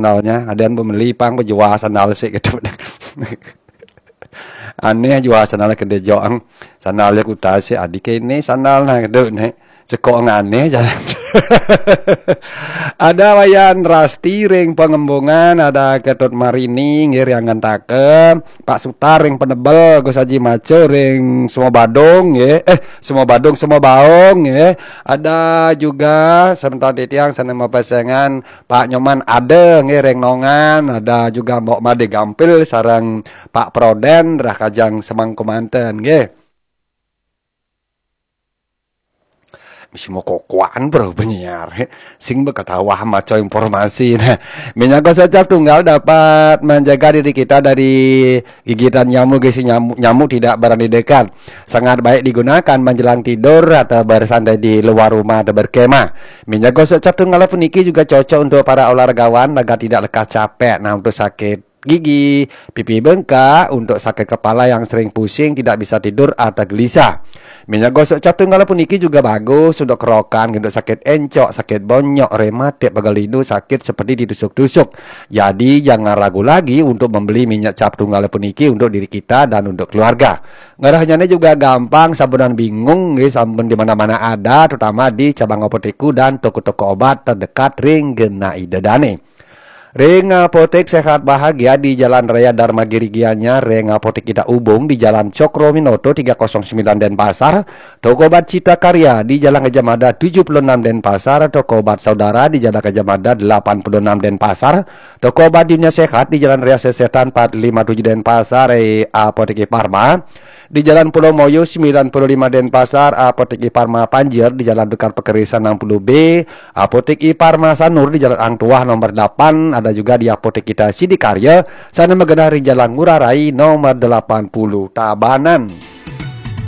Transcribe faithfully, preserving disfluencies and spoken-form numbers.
sandalnya, ada yang pembeli pang, penjual sandal sih gitu. Aneh jual sandal ke dejok ang. Sandal dia kuta sih, adik ini sandal nah gitu nih. Sekok aneh jalan. Ada Wayan Rasti ring Pengembungan, ada Ketut Marini nggih ring Angantaka, Pak Sutar ring Penebel, Gus Haji Maco ring Semua Badung nggih. Eh, Semua Badung, Semua Baung nggih. Ada juga sebentar titiang sana mapasengan Pak Nyoman ada nggih ring Nongan, ada juga Mbok Made Gampil sareng Pak Proden rah kajang semangku manten nggih. Mesti mau kokoan bro penyiar. Sing bekatawah maco informasi. Nah, minyak gosok cap tunggal dapat menjaga diri kita dari gigitan nyamuk, gisi nyamuk, nyamuk tidak berani dekat. Sangat baik digunakan menjelang tidur atau bersantai di luar rumah atau berkemah. Minyak gosok cap tunggal puniki juga cocok untuk para olahragawan agar tidak lekas capek. Nah, untuk sakit gigi, pipi bengkak, untuk sakit kepala yang sering pusing, tidak bisa tidur atau gelisah. Minyak gosok cap tunggal puniki juga bagus untuk kerokan, untuk sakit encok, sakit bonyok, rematik, pegal linu, sakit seperti ditusuk-tusuk. Jadi jangan ragu lagi untuk membeli minyak cap tunggal puniki untuk diri kita dan untuk keluarga. Ngarahnya juga gampang, sabunan bingung, nggih, sampun di mana-mana ada, terutama di cabang apotekku dan toko-toko obat terdekat ring genah ida dane. Ring Apotek Sehat Bahagia di Jalan Raya Dharma Giri Gianyar, ring Apotek Ida Ubung di Jalan Cokro Minoto tiga kosong sembilan Denpasar, Toko Obat Cita Karya di Jalan Gajah Mada tujuh puluh enam Denpasar, Toko Obat Saudara di Jalan Gajah Mada delapan puluh enam Denpasar, Toko Obat Dunia Sehat di Jalan Raya Sesetan empat lima tujuh Denpasar, eh, Apotek Iparma di Jalan Pulau Moyo sembilan puluh lima Denpasar, Apotek Iparma Panjer di Jalan Dukar Pekerisan enam puluh B, Apotek Iparma Sanur di Jalan Ang Tuah nomor delapan, ada juga di Apotek Kita Sidikarya, sana magenah di Jalan Ngurah Rai nomor delapan puluh Tabanan.